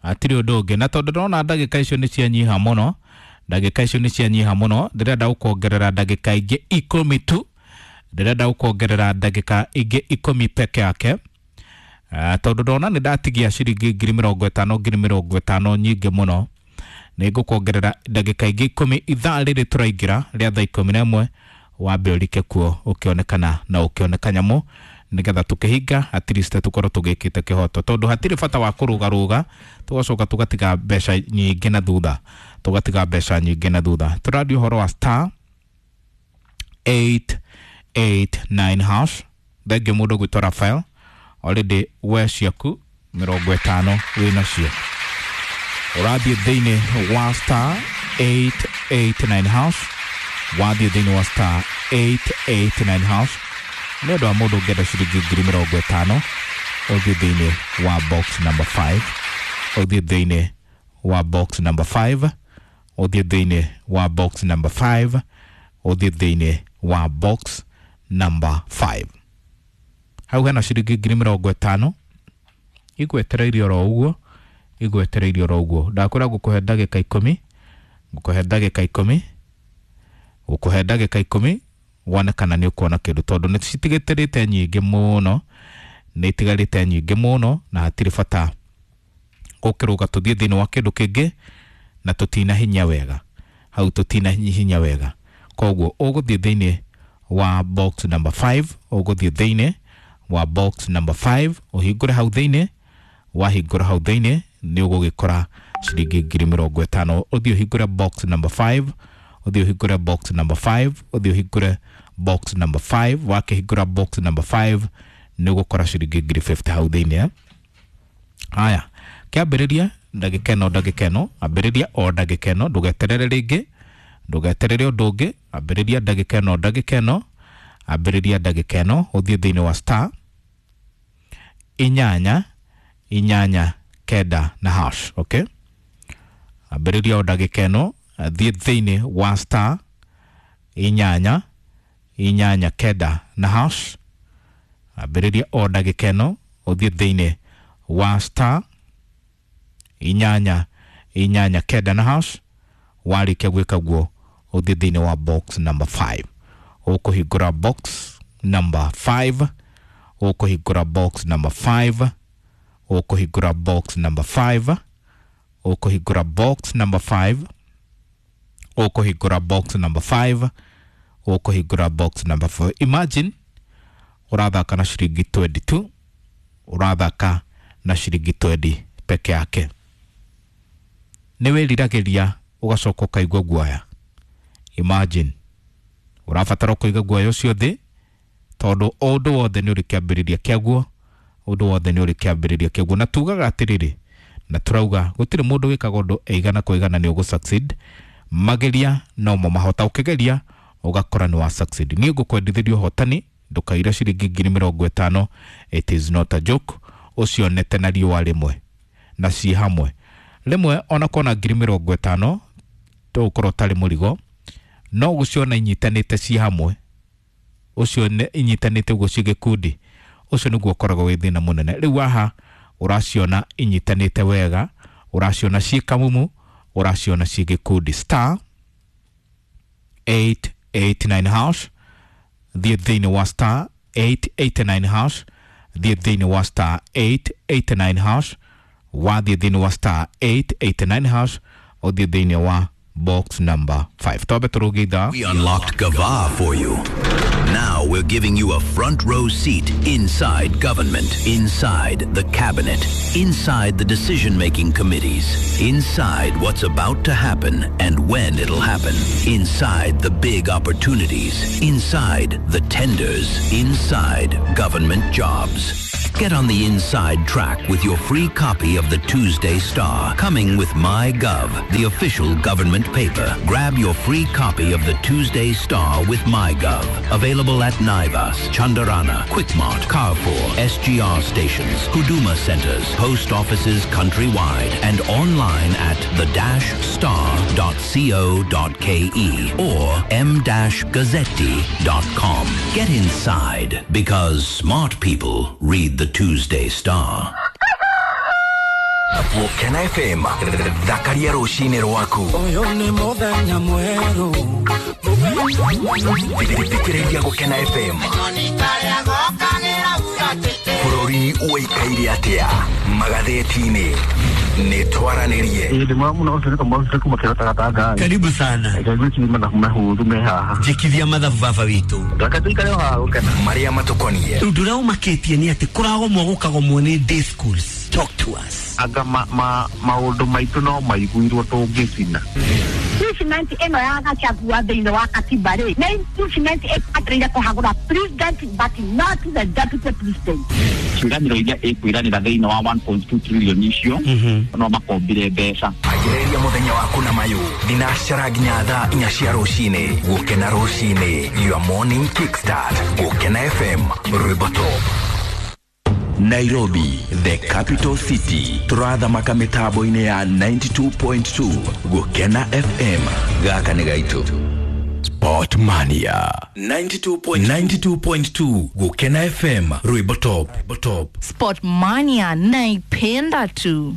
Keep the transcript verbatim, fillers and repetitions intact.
Hatirĩ ũndũ ũngĩ. Na tondũ ndĩrona ndagĩka icio nĩ cianyiha mũno, ndagĩka icio nĩ cianyiha mũno, ndĩrenda gũkuongerera ndagĩka ingĩ ikũmi tu. Ndĩrenda gũkuongerera ndagĩka ingĩ ikũmi peke yake. Uh, tondũ ndona nĩ ndatigia ciringi ngiri mĩrongo ĩtano ngiri mĩrongo ĩtano nyingĩ mũno, nĩ ngũkuongerera ndagĩka ingĩ ikũmi. Ithaa rĩrĩ tũraingĩra rĩa thaa ikũmi na ĩmwe, wambe ũrike kuo ũkĩonekana na ũkĩoneka nyamũ, nĩgetha tũkĩhinga at least tũkorwo tũgĩkĩte kĩhoto, tondũ hatirĩ bata wa kũrũgarũga tũgacoka tũgatiga mbeca nyingĩ na thutha, tũgatiga mbeca nyingĩ na thutha. Tũraria ũhoro wa star eight eight nine hash. Thengiũ mũndũ gwĩtwo Rafael, already we ciaku mĩrongo ĩtano wĩnacio, ũrathiĩ thĩinĩ wa star eight eight nine hash, wathiĩ thĩinĩ wa star eight eight nine hash nĩ ũndũ wa mũndũ ũngĩenda ciringi ngiri mĩrongo ĩtano, ũthiĩ thĩinĩ wa box number five, ũthiĩ thĩinĩ wa box number five, ũthiĩ thĩinĩ wa box number five, ũthiĩ thĩinĩ wa box number five. Hau hena ciringi ngiri mĩrongo ĩtano igwetereirie oro ũguo, igwetereirie oro ũguo. Ndakwĩra ngũkũhe ndagĩka ikũmi, ngũkũhe ndagĩka ikũmi, ngũkũhe ndagĩka ikũmi wone kana nĩ ũkuona kĩndũ, tondũ nĩ citigĩtĩrĩte nyingĩ mũno, nĩ itigarĩte nyingĩ mũno, na hatirĩ bata gũkĩrũga tũthiĩ thĩinĩ wa kĩndũ kĩngĩ na tũtina hinya wega hau, tũtina hinya wega. Koguo ũgũthiĩ thĩinĩ wa box number five, ũgũthiĩ thĩinĩ wa box number five, ũhingũre hau thĩinĩ. Wahingũra hau thĩinĩ nĩ ũgũgĩkora ciringi ngiri mĩrongo ĩtano. Ũthiĩ ũhingũre box number five, ũthiĩ ũhingũre box number five, ũthiĩ ũhingũre box number five. Wakĩhingũra box number five nĩ ũgũkora ciringi ngiri fifty hau thĩinĩ. Haya, kĩambĩrĩria ndagĩka ĩno, ndagĩka ĩno, ambĩrĩria o ndagĩka ĩno, ndũgeterere rĩngĩ, ndũgeterere ũndũ ũngĩ, ambĩrĩria ndagĩka ĩno, ndagĩka ĩno, ambĩrĩria ndagĩka ĩno, ũthiĩ thĩinĩ wa star inyanya inyanya kenda na hash. Okay, ambĩrĩria o ndagĩka ĩno, thiĩ thĩinĩ wa star inyanya inyanya kenda na hash. Ambĩrĩria o ndagĩka ĩno, ũthiĩ thĩinĩ wa star inyanya inyanya kenda na hash. Warĩkia gwĩka guo, ũthiĩ thĩinĩ wa box number five, ũkũhingũra box number five, ũkũhingũra box number five, ũkũhingũra box number five, ũkũhingũra box number five, ũkũhingũra box number five, ũkũhingũra box number four. Imagine ũrathaka na ciringi twenty-two, ũrathaka na ciringi twenty peke yake. Nĩ wĩriragĩria ũgacoka ũkaigua guoya. Imagine ũrabatara kũiga guoya ũcio thĩ, tondũ ũndũ wothe nĩ ũrĩ kĩambĩrĩria kĩaguo, ũndũ wothe nĩ ũrĩ kĩambĩrĩria kĩaguo. Na tugaga atĩrĩrĩ, na turauga gũtirĩ mũndũ wĩkaga ũndũ ĩigana kwa igana nĩ ũgũ succeed. Mageria no mo mahota, ũkĩgeria ũgakora nĩ wa succeed. Niĩ ngũkwendithĩria ũhotani, ndũkaire ciringi ngiri mĩrongo ĩtano. It is not a joke. Ũcionete na riũa rĩmwe na ciĩ hamwe rĩmwe, ona kona ngiri mĩrongo ĩtano tũgũkorwo ũtarĩ mũrigo, no gũciona inyitanĩte ciĩ hamwe, ũcio inyitanĩte ũguo ciĩ gĩkundi, ũcio nĩguo ũkoragwo wĩ thĩna mũnene. Rĩu haha ũraciona inyitanĩte wega, ũraciona ciĩ kamumu, ũraciona ciĩ gĩkundi. Star eight eight nine hash, thiĩ thĩinĩ wa star eight eight nine hash, thiĩ thĩinĩ wa star eight eight nine hash. Wathiĩ thĩinĩ wa star eight eight nine hash, ũthiĩ thĩinĩ wa box number five. Twambe tũrũge ithaa. We unlocked Gava for you. Now we're giving you a front row seat inside government, inside the cabinet, inside the decision making committees, inside what's about to happen and when it'll happen, inside the big opportunities, inside the tenders, inside government jobs. Get on the inside track with your free copy of the Tuesday Star, coming with MyGov, the official government paper. Grab your free copy of the Tuesday Star with MyGov. Available at Naivas, Chandarana, Quickmart, Carrefour, S G R stations, Huduma centers, post offices countrywide, and online at the dash star dot co dot K E or m dash gazzetti dot com. Get inside, because smart people read the Tuesday Star. Gũkena F M, thakaria rũcinĩ rwaku. Ũyũ nĩ mũthenya mwerũ. Thikĩrĩria Gũkena F M. Bũrũri ũikaire atĩa magathĩti-inĩ? Nĩ twaranĩrie. Ĩĩ, ndĩ mwega mũno, ũcio nĩ Kamau Ũcio kuma Kĩrota Gatanga. Karibu sana. Karibu chini mathabu mahũthũ me haha. Njĩkithia mathabu baba witũ. Reke tũikare o haha gũkena. Marĩa matũkoniĩ. Ũndũ ũrĩa ũmakĩtie nĩ atĩ kũragomwo gũkagomwo nĩ day schools. Talk to us. Anga ma, ma, maũndũ maitũ no maiguirwo tũngĩcina. Impeachment ĩno ya Gachagua thĩinĩ wa katiba rĩ, nĩ impeachment ĩbataire kũhagũra president but not the deputy president. Ciĩranĩro iria ĩkwĩranĩra thĩinĩ wa one point two trillion icio, no makombire mbeca. Anjĩrĩria mũthenya waku na mayũ thinacara nginya thaa inya cia rũcinĩ. Gũkena rũcinĩ, your morning kickstart. Gũkena F M, rwĩmbo top. Nairobi, the capital city. Turathamaka mitambo-inĩ ya ninety-two point two Gũkena F M. Gaka nĩ gaitũ. Sport Mania ninety-two point two Gũkena F M, rwĩmbo top, top. Sport Mania naipenda tu.